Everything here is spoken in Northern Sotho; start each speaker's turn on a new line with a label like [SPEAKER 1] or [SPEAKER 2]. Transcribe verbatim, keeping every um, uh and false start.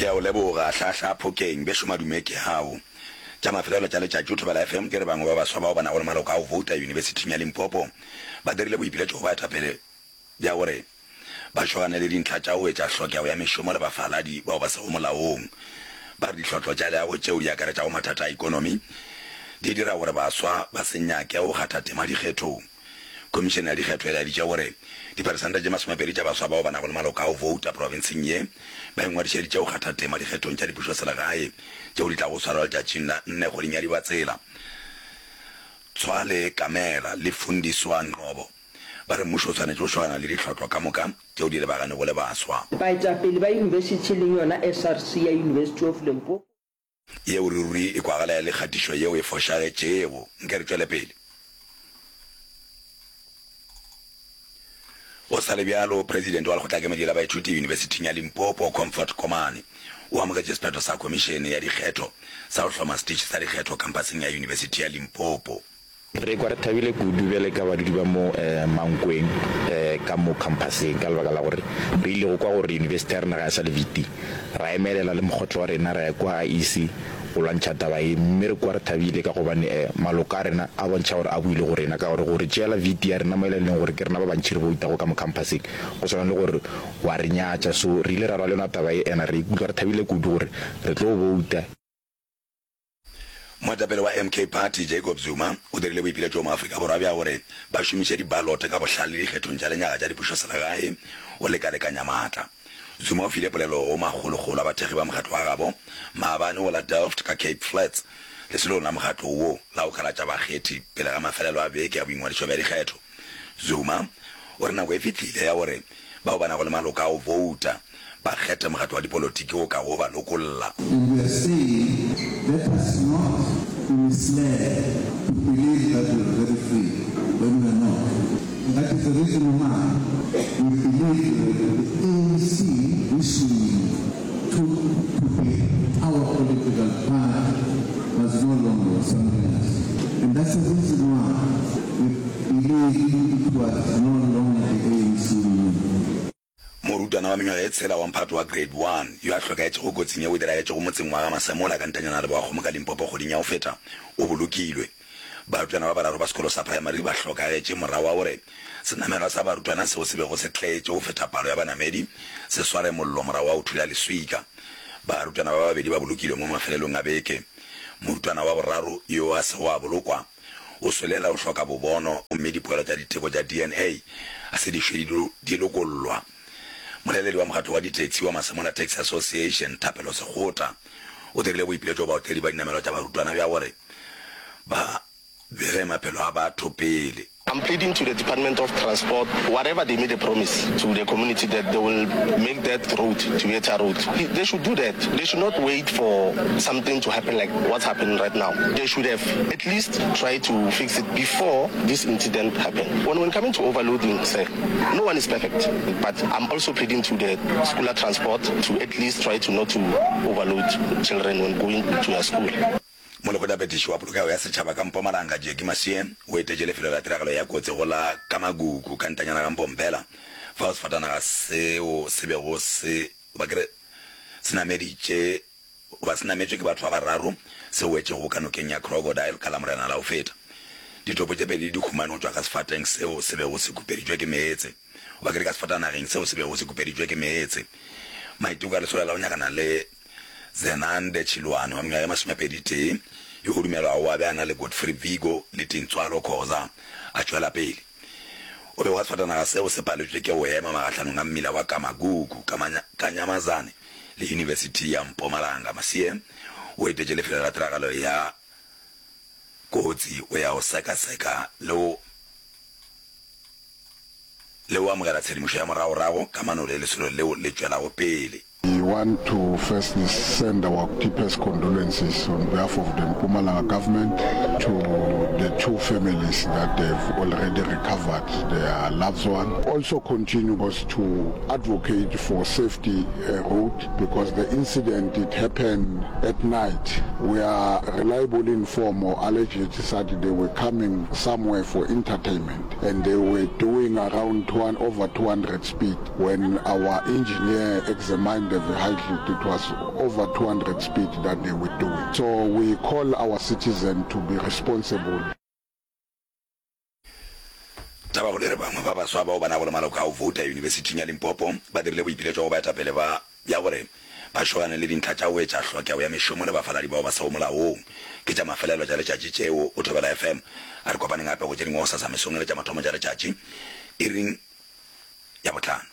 [SPEAKER 1] Ke a o leboga, Hlahla Phokeng, bešo madume ke ao. Tša mafelelo tša letšatši o Thobela F M ke re bangwe ba baswa bao ba nago le maloko a go vouta Yunibesithing ya Limpopo ba dirile boipiletšo go baetapele bja gore ba šogane le dintlha tša go etša hlokego ya mešomo le bafaladi bao ba sego molaong. Ba re dihlotlo tša leago tšeo di akaretšago mathata a ekonomi di dira gore baswa ba se nyake go kgatha tema dikgethong. Khomišene ya Dikgetho e laeditše gore diperesente tše masomepedi tša baswa bao ba nago le maloko a go vouta profenseng ye ba ingwadišeditše go kgatha tema dikgethong tša dipušoselegae tšeo di tlago go swarwa letšatšing la nne kgweding ya Dibatsela. Tshwale Kamela le Fundiswa Ngcobo ba re mmušo o swanetše go šogana le dihlotlo ka moka tšeo di lebaganego le baswa.
[SPEAKER 2] Baetapele ba yunibesithi e leng yona S R C ya University of Limpopo,
[SPEAKER 1] Yeo ruri e kwagala e le kgatišo yeo e fošagetšego. Nke re tšwele pele. Go sa le bjalo, Presidente wa Lekgotlakemedi la Baithuti Yunibesithing ya Limpopo, Comfort Komane, o amogetše sephetho sa Khomišene ya Dikgetho sa go hloma setiši sa dikgetho khamphaseng ya Yunibesithi ya Limpopo.
[SPEAKER 3] Re ikwa re thabile kudu bjale ka badudi ba mo Mankweng ka mo khamphaseng ka lebaka la gore re ile go kwa gore yunibesithi ya rena ga e sa le V T. Ra emelela le mokgotlo wa rena ra ya kua I E C go lwantšha taba ye mme re kwa re thabile ka gobane maloko a rena a bontšha gore a boile go rena ka gore go re tšeela V T ya rena mo e leng gore ke rena ba bantši re boutago ka mo khamphaseng go swana le gore wa re nyatša. So re ile ra lwa le yona taba ye and re ikutlwa re thabile kudu gore re tlo bouta.
[SPEAKER 1] Moetapele wa M K Party, Jacob Zuma, o dirile boipiletšo go maAfrika Borwa bja gore ba šomiše dibalote ka bohlale dikgethong tša lenyaga tša dipušoselegae go lekalekanya maatla. Zuma o file polelo go makgolokgolo a bathekgi ba mokgatlo wa gabo maabane go la Delft ka Cape Flats lesolong la mokgatlo wo la go kalatša bakgethi pele ga mafelelo a beke ya boingwadišo bja dikgetho. Zuma o re nako e fihlile ya gore bao ba nago le maloko a go bouta ba kgethe mokgatlo wa dipolotiki wo kago ba lokolla.
[SPEAKER 4] And we are saying let us not be misled to believe that we are very free when we are not. And that is the reason why we believe that the A N C, which we took to be our political party, was no longer something else. And that's the reason why we believe it was no longer the A N C we knew.
[SPEAKER 1] Morutwana wa mengwaga ye tshela wa mphato wa Grade One yo a hlokaetšego kotsing yeo e diragetšego motseng wa Ga-Masemola ka ntanyana Leboakgomo ka Limpopo kgweding ya go feta o bolokilwe. Barutwana ba bararo ba sekolo sa primary ba hlokagetše morago ga gore senamelwa sa barutwana seo se bego se tletše go feta palo ya banamedi se sware mollo morago ga go thula leswika. Barutwana ba babedi ba bolokilwe mo mafelelong a beke. Morutwana wa boraro yo a sego a bolokwa o swelela go hloka bobono gomme dipoelo tša diteko tša D N A a se di šwe di lokollwa. Moleledi wa mokgatlo wa ditaxi wa Masemola Taxi Association, Thapelo Sekgota, o dirile boipiletšo go baotledi ba dinamelwa tša barutwana bja gore ba bege maphelo a batho pele.
[SPEAKER 5] I'm pleading to the Department of Transport, whatever they made a promise to the community that they will make that road to be a tar road, they should do that. They should not wait for something to happen like what's happening right now. They should have at least tried to fix it before this incident happened. When, when coming to overloading, sir, no one is perfect, but I'm also pleading to the schooler transport to at least try to not to overload children when going to their school.
[SPEAKER 1] Molekgotlaphethiši wa polokego ya setšhaba ka Mpumalanga, Jackie Masie, o etetše lefelo la tiragalo ya kotsi go la Kamagugu ka ntanyana ga Mpompela, fao sefatanaga seo se bego se goba ke re se nameditše goba se nametšwe ke batho ba bararo se wetšego ka nokeng ya Crocodile ka Lamorena la go feta. Ditopo tše pedi di humanwe go tšwa ka sefateng seo se bego se khupeditšwe ke meetse goba ke re ka sefatanageng seo se bego se khupeditšwe ke meetse. Maiteko a lesolo la go nyakana le Zenande Chiloane wa mengwaga ye masomepedi tee, yo go dumelwago a be a na le Godfrey Vigo le Tintswalo Khoza, a tšwela pele. O be wa sefatanaga seo se paletšwe ke go ema magahlanong a mmila wa Kamagugu ka Nyamazane le Yunibesithi ya Mpumalanga. Masie o etetše lefelo la tiragalo ya kotsi go ya go sekaseka le go le go amogela tshedimošo ya moragorago kamano le lesolo leo le tšwelago pele.
[SPEAKER 6] We want to firstly send our deepest condolences on behalf of the Mpumalanga government to the two families that have already recovered their loved one. Also continues to advocate for safety uh, road because the incident it happened at night. We are reliably informed or alleged that they were coming somewhere for entertainment and they were doing around two, over two hundred speed. When our engineer examined the vehicle, it was over two hundred speed that they were doing. So we call our citizens to be responsible.
[SPEAKER 1] Tabakgolo e re bangwe ba baswa bao ba nago le maloko a go vouta Yunibesithing ya Limpopo ba dirile boipiletšo go baetapele ba bja gore ba šogane le dintlha tša go etša hlokego ya mešomo le bafaladi bao ba sego molaong. Ke tša mafelelo tša letšatši tšeo go Thobela F M. A re kopaneng gape go tše dingwe gosasa mesong e le tša mathomo tša letšatši iring ya bohlano.